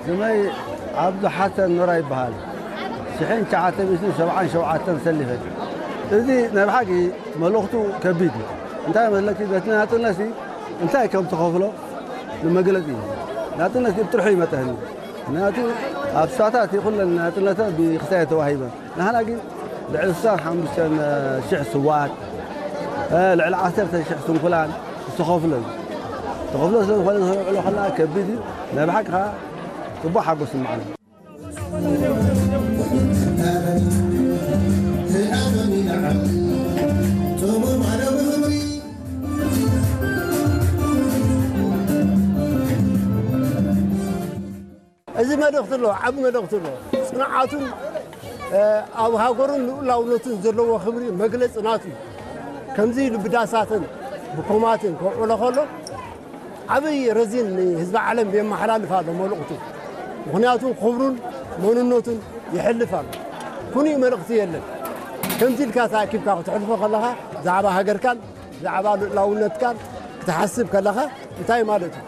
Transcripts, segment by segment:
ስመይ ዓብዱ ሓሰን ኖራ ይበሃል። ሽሕን ትሽዓተ ሚእትን ሰብዓን ሸውዓተን ሰሊፈ። እዚ ናይ ብሓቂ መልእኽቱ ከቢድ እዩ። እንታይ መስለኪ፣ በቲ ናጽነት ሲ እንታይ ከም ትኸፍሎ ንመግለጺ እዩ። ናጽነት ብጥርሑ ይመጠኒ። ምክንያቱ ኣብ ሳታት ይኹለን ናጽነተ ብክሳየ ተዋሂበ። ንሕና ግን ልዕሊ ስሳን ሓሙሽተን ሽሕ ስዋት፣ ልዕሊ ዓሰርተ ሽሕ ስንኩላን ዝተኸፍሎ እዩ። ተኸፍሎ ስለ ዝኾነ፣ ተኸፍሎ ከለኣ ከቢድ እዩ። ናይ ብሓቂ ከዓ ጽቡቕ ሓጎስ ይስምዓኒ። እዚ መልእኽቲ ኣሎ፣ ዓቢ መልእኽቲ ኣሎ። ጽንዓቱን፣ እ፣ ኣብ ሃገሩን ልኡላውነቱን ዘለዎ ክብሪ መግለጺ ናቱ እዩ። ከምዚ ኢሉ ብዳሳትን ብኮማትን ከውዕሎ ከሎ፣ ዓብይ ረዚን ንህዝቢ ዓለም የመሓላልፍ ኣሎ መልእኽቱ። ምኽንያቱ ክብሩን መንነቱን ይሕልፍ ኣሎ። ኩኑይ መልእኽቲ የለን። ከምዚ ኢልካ ተኣኪብካ ክትሕልፎ ከለኻ፣ ብዛዕባ ሃገርካን ብዛዕባ ልኡላውነትካን ክትሓስብ ከለኻ እንታይ ማለት እዩ?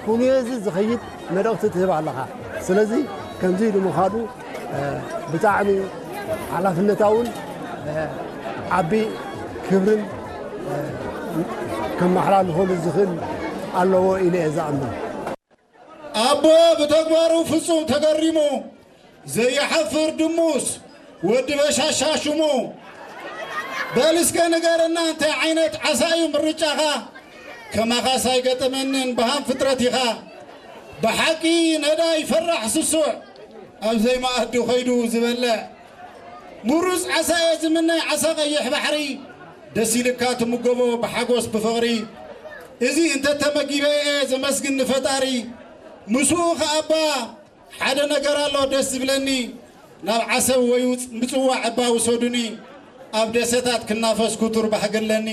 ኩንዮ እዚ ዝኸይድ መልእኽቲ ትህብ ኣለኻ። ስለዚ ከምዚ ኢሉ ምዃኑ፣ እ፣ ብጣዕሚ ሓላፍነታውን፣ እ፣ ዓቢ ክብርን፣ እ፣ ከመሓላልፈሉ ዝኽእል ኣለዎ ኢለ እየ ዝኣምን። ኣቦ ብተግባሩ ፍጹም ተገሪሙ፣ ዘይሓፍር ድሙስ ወዲ በሻሻ ሽሙ። በል እስከ ንገረና፣ እንታይ ዓይነት ዓሳ እዩ ምርጫኻ? ከማኻስ ኣይገጠመንን፣ በሃም ፍጥረት ኢኻ። ብሓቂ ነዳይ ፈራሕ ስሱዕ፣ ኣብ ዘይመኣዲ ኸይዱ ዝበልዕ። ምሩፅ ዓሳ እየ ዝምነ፣ ዓሳ ቀይሕ ባሕሪ። ደስ ኢልካ ትምገቦ ብሓጎስ ብፍቕሪ። እዚ እንተተመጊበ እየ ዘመስግን ንፈጣሪ። ምስኡ ኸኣባ ሓደ ነገር ኣሎ ደስ ዝብለኒ። ናብ ዓሰብ ወይ ውፅ-፣ ምፅዋዕ እባ ውሰዱኒ። ኣብ ደሴታት ክናፈስ ክቱር ባህጊ ኣለኒ።